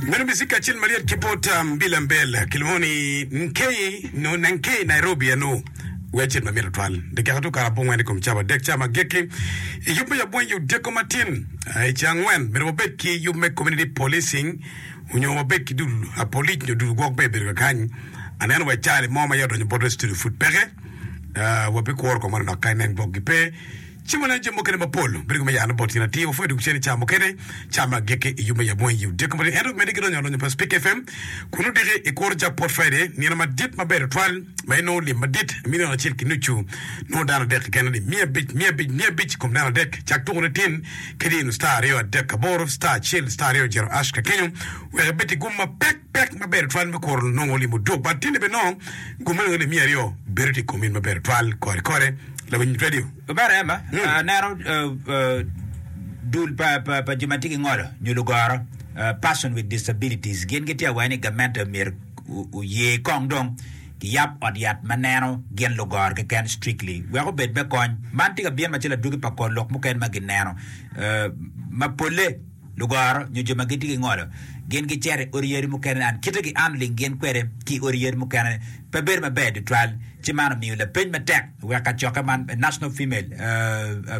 Meno bicik kacel malyet ki bot Mbila Mbel kilwongo ni Nkei no Nankei Nairobi eno wi acel ma mit tutwal. Dakika tu kare abongwen i kom cawa adek ca ma agikki i yub me yabweng i odiko matin i ceng angwen myero wabed ki yub me community policing onyo wabed ki dul polic nyo dul gwok me bedo kakany. Aneno wa cali mo ma ya odonyo botwa i studio pud peke. Wabikuro kong manok ka inen gwok gi pe. Ci waneno jami mukene mapol bedo me yano bot tyen atir. Wapwoyo dwogo cen i cawa mukene, cawa me agikki i yub me yab weng i odiko matin. Ento medde ki donyo alonyo pa Spik FM kun odiki i kuro Jackpot Friday, nino madit maber tutwal ma inongo lim madit milion acel ki nucu. Nongo dano adek keken alip 500, 500, 500 i kom dano adek. Cak tukone tin ki dino star aryo adek aboro star acel star aryo jero ash ka kenyo wek ibed ki gum mapek pek maber tutwal me kuro nongo lim oduk. But tinde bene nongo gum me nongo alip 200 bedo tye i kom in maber tutwal kore kore. Lawiny radio. Omera Emma, aneno dul pa jo ma tye ki ngolo nyo lugoro, person with disabilities, gin gitye awaco ni gamente myero oye kong dong kiyab ot yat ma neno gin lugoro keken strictly wek obed me kony. Man tye ka bino macalo adwogi pa kor lok mukene ma gineno ma polle. Lugoro nyo jo ma gitye ki ngolo gin gicito i odi yadi mukene and kite ki handling gin kwede ki i odi yadi mukene pe bedo maber tutwal ci man omiyo lapeny matek wek kacokke man National Female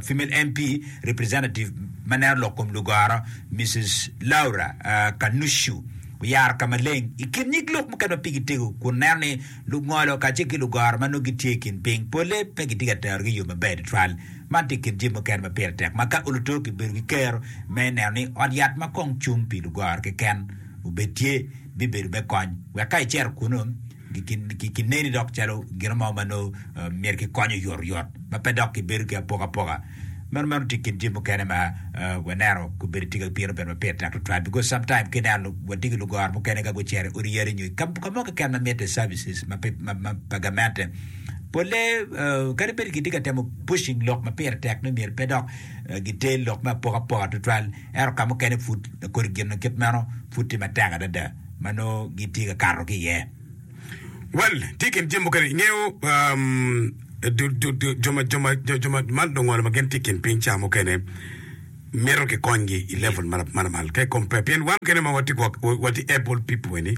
Female MP Representative ma neno lok kom lugoro Mrs Laura Kanushu oyaro ka maleng i kin nyig lok mukene ma pigi tego kun neno ni lungolo kacel ki lugoro ma nongo gitye i kin piny polle pe gitye ka terogi i yo maber tutwal. Man tye i kin jami mukene ma pire tek ma ka oluto kibedo ki kero me neno ni ot yat ma kong cung pi lugoro keken obed tye bibedo me kony wek ka icito kunu kineni dok calo gin mo ma nongo myero kikony oyotoyot ma pe dok kibedo ki apokapoka. Meno meno tye i kin jami mukene ma waneno obedo tye ka bino bene ma pire tek tutwal because sometime ka ineno watye ki lugoro mukene ka gucito i odi yadi nyo ka mo keken ma mitte services ma pa gamente Polle kadi bed gitye ka temo pushing lok ma pire tek ni myero pe dok giter lok me apokapoka tutwal, ento ka mukene pud kodi gin ma kit meno pud tye matek adada ma nongo gitye ka kato ki iye. Well, tye i kin jami mukene, ingeyo jo ma jo ma jo ma ma lungolo ma gin tye i kin piny ca mukene mito kikonygi i level ma lamal ka i compare pien wan mukene ma watye watye able people eni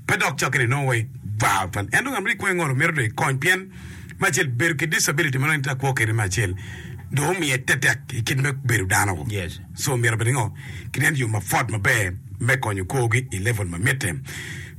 Pe dok cokke ni nongo wa ibar twal. Ento ngat ma tye kwo ingolo mito dong ikony pien me acel bedo ki disability ma nongo in itye ka kwo kwede me acel dong omiye tetek i kit me bedo dano. Yes. So myero bed ngo kinen yo ma pwot maber me konyo kwogi i level ma mitte.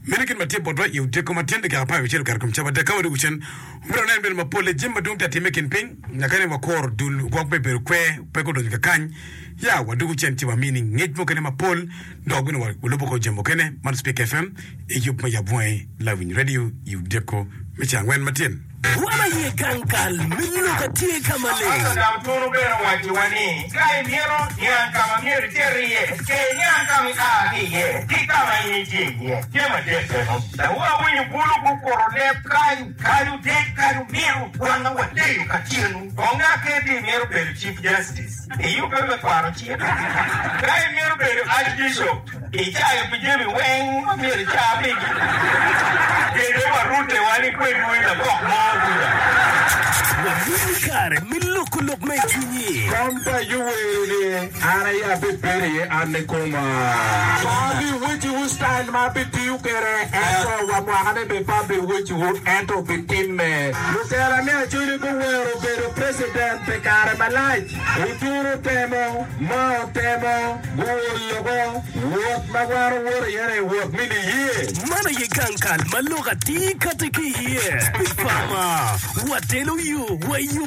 Meno kit ma tye botwa i odiko ma tyen dakika 16 okato kom cawa adek ka wadwogo cen omyero wanen bene mapolle jami madwong tye atime i kin piny nyaka ni wakuro dul gwok me bedo kwer pe gudonyo kakany ya wadwogo cen ci wamini ngec mukene mapol Dok bene walubo kor jami mukene man Spik FM i yub me Yab Wangi Lawiny Radio i odiko me ceng angwen matin. Wan aye gang kal me lok atye ka maleng. Apostle Daud bene owacciwa ni, Ka imito niang ka ma myero icit iye, ce iniang ka ma ia ki iye ki ka ma in itye iye. Tye madit eno. Dong awinyo bulu gukuto leb kany, kany odek, kany omito, wanga waleyo kacelu. Kong aketi imito bedo Chief Justice. Iyubbe me kwano cik. Ka imito bedo Archbishop, icayo pi jami weng ma myero ica pigi. Kede warute wa ni kwedwu i lakok mo kuca. Wamini kare me loko lok ma i cwinyi. Kom pa Yoweri-ni an aye abibedo iye an nikoma. Pe abiwecciwu citayil ma abitiyo kwede, ento wa mwakane bene pe abiwecciwu, ento obitimme. Lutela me Acholi guwero bedo preciden pi kare malac. Oturu otemo, ma otemo, guol loko. Wot ma wan owoto iye-ni wot me niye. Man aye gang kal ma lok atir kati ki iye. Pi fama, watelo yo wa i yo.